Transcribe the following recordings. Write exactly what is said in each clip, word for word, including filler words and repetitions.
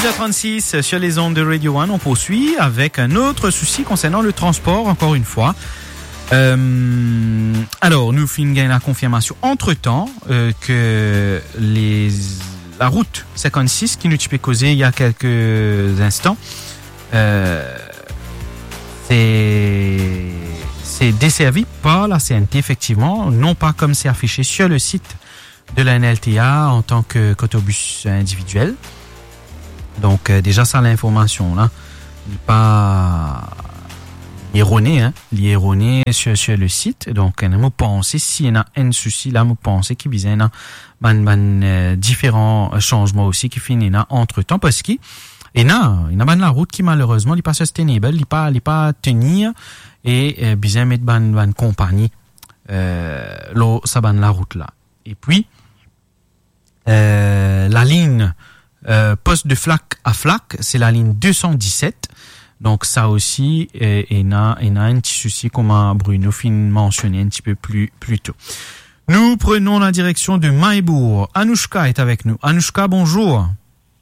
Six heures trente-six sur les ondes de Radio One, on poursuit avec un autre souci concernant le transport, encore une fois. Euh, alors, nou finn gagn la confirmation entre-temps, euh, que les, la route cinquante-six, ki nou ti pe koze il y a quelques instants, euh, c'est, c'est desservi par la C N T, effectivement, non pas comme c'est affiché sur le site de la N L T A en tant que, qu'autobus individuel. Donc, euh, déjà, sa, l'information la, li pa, li erone, hein, li erone sur, sur le site. Donc, euh, mo panse, si ena enn sousi la, mo panse ki bizin ena bann, bann, euh, diferan, euh, sanzman osi ki finn ena antretan, parski ena, ena bann larout ki, malerezman, li pa sustainable, li pa, li pa tenir, e, euh, bizin met bann, bann konpagni, euh, lor sa bann larout la. Epi, euh, lalinn, euh, post de Flacq à Flacq, se lalinn deux cent dix-sept. Donk sa osi, euh, ena, ena enn ti sousi, kouma Bruno finn mansione enn ti pe pli, pli to. Nous prenons la direction de Mahébourg. Anouchka est avec nous. Anouchka, bonjour.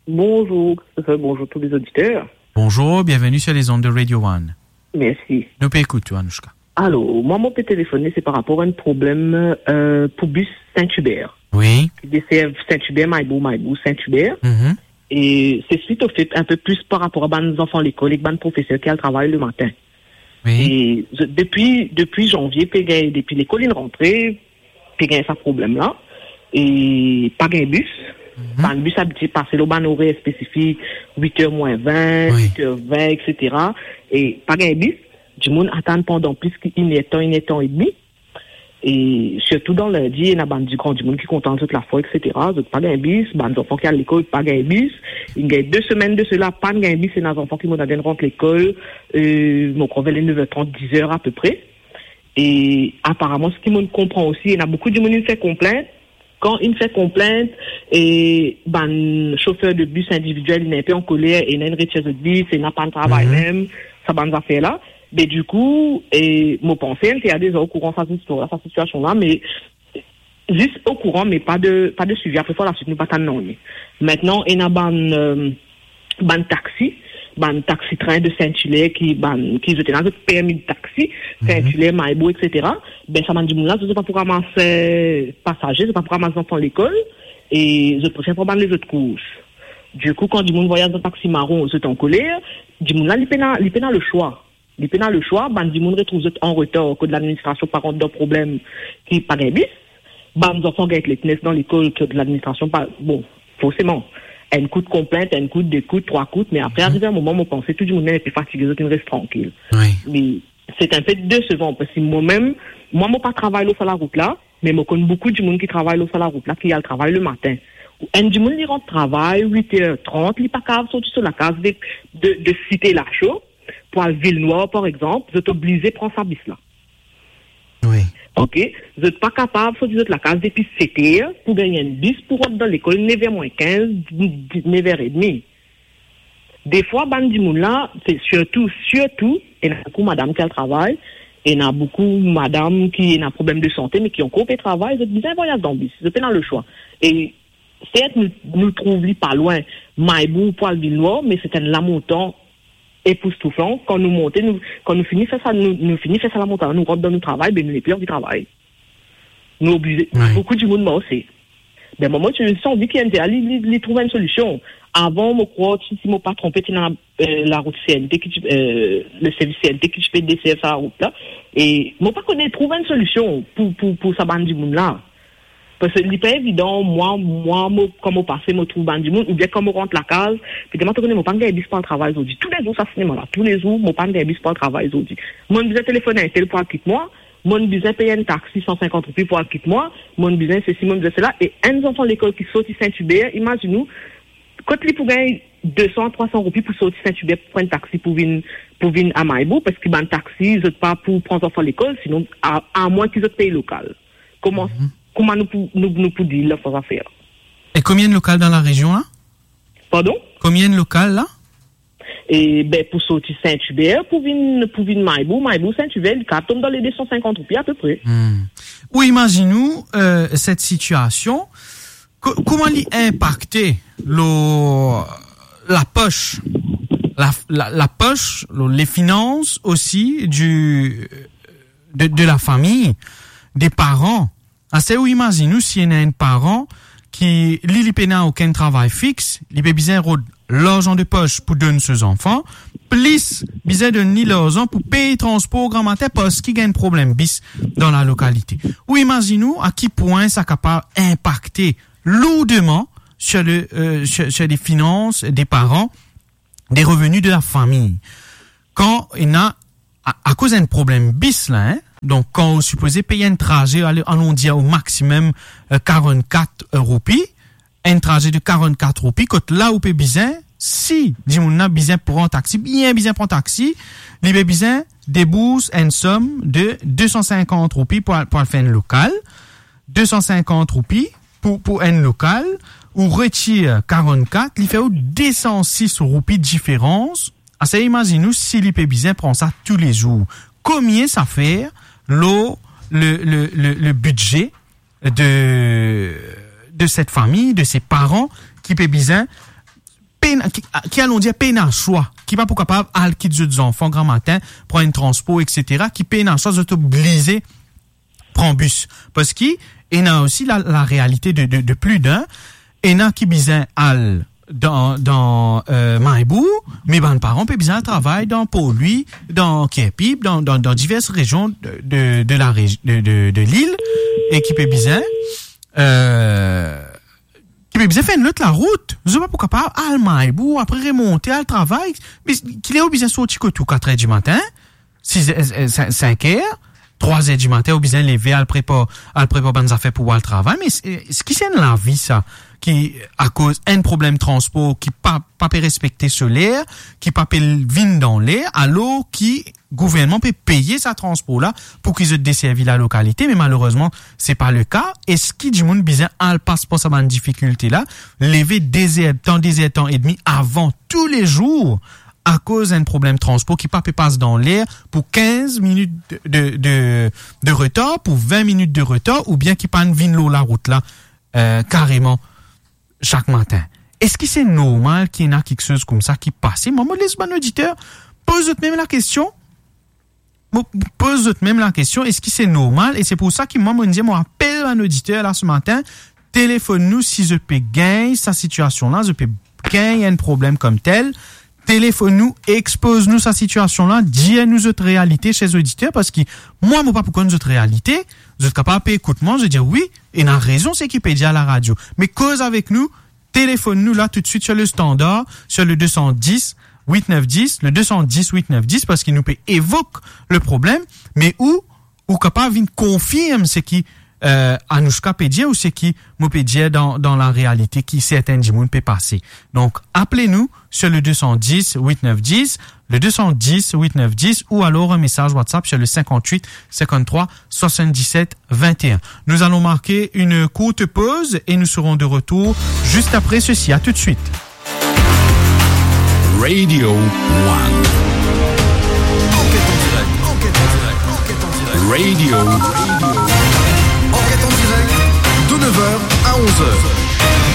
Bonjour, Christopher, bonjour tous les auditeurs. Bonjour, bienvenue sur les ondes de Radio One. Merci. Nou pe ekout ou, Anouchka. Alor, mwa, mo pe telefone, se par rapor a enn problem, euh, pou bis Saint-Hubert. Wi. Ki deserv Saint-Hubert, Mahébourg, Mahébourg, Saint-Hubert. Mhm. E se suit au fait, enn pe plis par rapor a bann zanfan lekol ek bann profeser ki al travay lematin. Wi. E ze-, depi, depi zanvie, pe gagn, depi lekol inn rantre, pe gagn sa problem la. E pa gagn bis. Mhm. Bann bis abitie pase lor bann orer spesifik, wit er mwin vin, wi, wit er vin, et cetera. E pa gagn bis. Dimoun atann pandan plis ki inertan, inertan edmi. E sirtou dan lindi, ena bann dimoun ki kontan zot lafor, et cetera. Zot pa gagn bis, bann zanfan ki al lekol pa gagn bis. Inn gagn de semenn de sela, pa gagn bis, ena zanfan ki mo tann rant lekol, euh, mo krwar ver le nev er trant, diz er apepre. E aparaman, seki mo konpran osi, ena boukou dimoun inn fer konplint. Kan inn fer konplint, e bann sofer de bis individiel, inn enpe ankoler, ena inn retir zot bis, ena pa travay, mhm, mem, sa bann zafer la. Be dikou, e mo panse N T A deza okouran sa zistwar la, sa sitiasion la, me zis okouran, me pa de, pa de swivi. Apre par laswit, nou pa tann nanye. Aster, ena bann, euh, bann taxi, bann taxi trin de Saint-Hilaire ki, bann, ki zot ena zot permi de taxi, mhm, Saint-Hilaire, Mahébourg, et cetera. Be, sa bann dimoun la, zot pa pou ramas, euh, pasaze, zot pa pou ramas zanfan lekol, e zot prefer pran bann lezot kours. Dikou, kan dimoun vwayaz dan taxi maron, zot ankoler, dimoun la, li pena, li pena leswa. Li pena leswa, bann dimoun retrouv zot an retar, kot ladministrasion pa rant dan problem ki pa gagn bis. Bann zanfan gagn lateness dan lekol, kot ladministrasion pa, bon, forseman, enn kout konplint, enn kout, de kout, trwa kout, me apre, mhm, arive enn moman, mo panse tou dimoun inn enpe fatige, zot inn res trankil. Wi. Me se enn pe desevan, parski mwa mem, mwa, mo pa travay lor sa larout la, me mo konn boukou dimoun ki travay lor sa larout la, ki al travay lematin. Enn dimoun, li rant travay wit er trant, li pa kapav sorti so lakaz de, de, de Site Lasho, pou al Vilnwar, par exanp, zot oblize pran sa bis la. Wi. Ok, zot pa kapav sorti zot lakaz depi set er pou gagn enn bis pou rant dan lekol nev er mwin kinz, nev er edmi. Defwa, bann dimoun la, se sirtou, sirtou, ena boukou madam ki al travay, ena boukou madam ki ena problem de sante, me ki ankor pe travay, zot bizin vwayaz dan bis, zot pena leswa. E Sert, nou, nou trouv li pa lwin Mahébourg pou al Vilnwar, me se enn lamontan epoustouflan. Kan nou monte, nou, kan nou fini fer sa, nou, nou fini fer sa lamontan, nou rant dan nou travay, be nou nepli anvi travay. Nou oblize, wi, boukou dimoun marse. Be, mwa, mo ti anvi ki N T A li, li, li trouv enn solision. Avan, mo krwar, si, si mo pa tronpe, ti ena, euh, larout C N T ki ti, euh, le servis C N T ki ti pe deserv sa larout la. E mo pa kone trouv enn solision pou, pou, pou sa bann dimoun la. Parski li pa evidan, mwa, mwa, mo, kan mo pase, mo trouv bann dimoun, oubien kan mo rant lakaz, pitimwa, to kone, mo pa'nn gagn bis pou al travay zordi. Toulezour, sa sinema la, toulezour, mo pa'nn gagn bis pou al travay zordi. Mo'nn bizin telefone enn tel pou al kit mwa, mo'nn bizin pey enn taxi san sinkant roupi pou al kit mwa, mo'nn bizin sesi, mo'nn bizin sela, e enn zanfan lekol ki sorti Saint-Hubert, imazinn ou, kot li pou gagn de san, trwa san roupi pou sorti Saint-Hubert pou pran enn taxi pou vinn, pou vinn a Mahébourg, parski bann taxi, zot pa pou pran zanfan lekol, sinon, a, amwin ki zot pey lokal. Kouma, mhm, kouma nou pou, nou, nou pou dir la sa zafer? E konbien lokal dan larezion la? Pardon? Konbien lokal la? E be, pou sorti Saint-Hubert, pou vinn, pou vinn Mahébourg, Mahébourg, Saint-Hubert, li kapav tom dan le de san sinkant roupi apepre. Hmm. Ou imazinn ou, euh, set sitiasion, ko-, kouma li inpakte lor, la poche, la, la, la poche, le, les finances aussi du, de, de la famille, des parents. Aster ou imazinn ou si ena enn paran ki, li, li pena okenn travay fix, li pe bizin rod larzan de poche pou donn so zanfan, plis bizin donn li larzan pou pey transpor gramatin parski gagn problem bis dan la lokalite. Ou imazinn ou a ki pwin sa kapav inpakte lourdeman sur le, euh, sur, sur les finances des parents, des revenus de la famille. Kan ena, a, akoz enn problem bis la, hein, donk kan ou sipoze pey enn traze, ale, alon dir au maximum, euh, quarante-quatre roupies, enn traze de quarante-quatre roupies, kot la ou pe bizin, si dimoun la bizin pran taxi, bien bizin pran taxi, li pe bizin debours enn som de deux cent cinquante roupies pou al, pou al fer enn lokal, deux cent cinquante roupies pou, pou enn lokal, ou retir quarante-quatre, li fer ou deux cent six roupies diferans. Aster imazinn ou si li pe bizin pran sa toulezour. Komie sa fer lor le, le, le, le budget de, de cette famille, de ces parents ki pe bizin pena, ki, ki alon dir pena swa, ki pa pou kapav al kit zot zanfan gramatin, pran enn transpor, et cetera, ki pena swa, zot oblize pran bis. Parski ena osi la, la realite de, de, de pli d'enn, ena ki bizin al dan, dan, euh, Mahe Bourg, me bann paran pe bizin al travay dan Port Louis, dan Cairpip, dan, dan, dan divers rezion de, de, de la regi-, de, de, de lil, e ki pe bizin, euh, ki pe bizin fer enn lot larout. Zot pa pou kapav al Mahe Bourg, apre remonte, al travay. Me ki ler ou bizin sorti kot ou, kat er dimatin, sis er, eh, sink, sink er, trwa er dimatin, ou bizin leve, al prepar, al prepar bann zafer pou al travay. Me s-, eski se enn lavi sa, ki akoz enn problem transpor ki pa, pa pe respekte so ler, ki pa pe vinn dan ler, alor ki gouvernman pe peye sa transpor la pou ki zot deservi la lokalite, me malerezman, se pa le ka. Eski dimoun bizin al pas par sa bann difikilte la, leve de er, tan, de er tan edmi avan toulezour, akoz enn problem transpor ki pa pe pas dan ler pou kinz minit de, de, de, de retar, pou vin minit de retar, oubien ki pa'nn vinn lor larout la, euh, kareman sak matin? Eski se normal ki ena kiksoz koumsa ki pase? Mwa, mo les bann oditer poz zot mem lakestion. Mo poz zot mem lakestion, eski se normal? E se pou sa ki mwa, mo dir, mo apel bann oditer la se matin, telefonn nou si zot pe gagn sa sitiasion la, zot pe gagn enn problem koumsa. Telefonn nou, expoz nou sa sitiasion la, dir nou zot realite, ser oditer, parski mwa, mo pa pou konn zot realite. Zot kapav pe ekout mwa, zot dir, "Wi, ena rezon seki pe dir a laradio." Me koz avek nou, telefonn nou la toutswit sur le standard, sur le deux cent dix, huit neuf dix, le deux cent dix, huit neuf dix, parski nou pe evok le problem, me ou, ou kapav vinn konfirm seki, euh, Anoushka pe dir ou seki mo pe dir dan, dan larealite ki sertin dimoun pe pase. Donk, apel nou sur le deux cent dix, huit neuf dix, le deux cent dix, huit neuf dix, ou alors un message WhatsApp sur le cinquante-huit, cinquante-trois, soixante-dix-sept, vingt et un. Nous allons marquer une courte pause et nous serons de retour juste après ceci. À tout de suite. Radio One. Enquête en direct, enquête en direct, enquête en direct. Radio. Enquête en direct, de neuf heures à onze heures.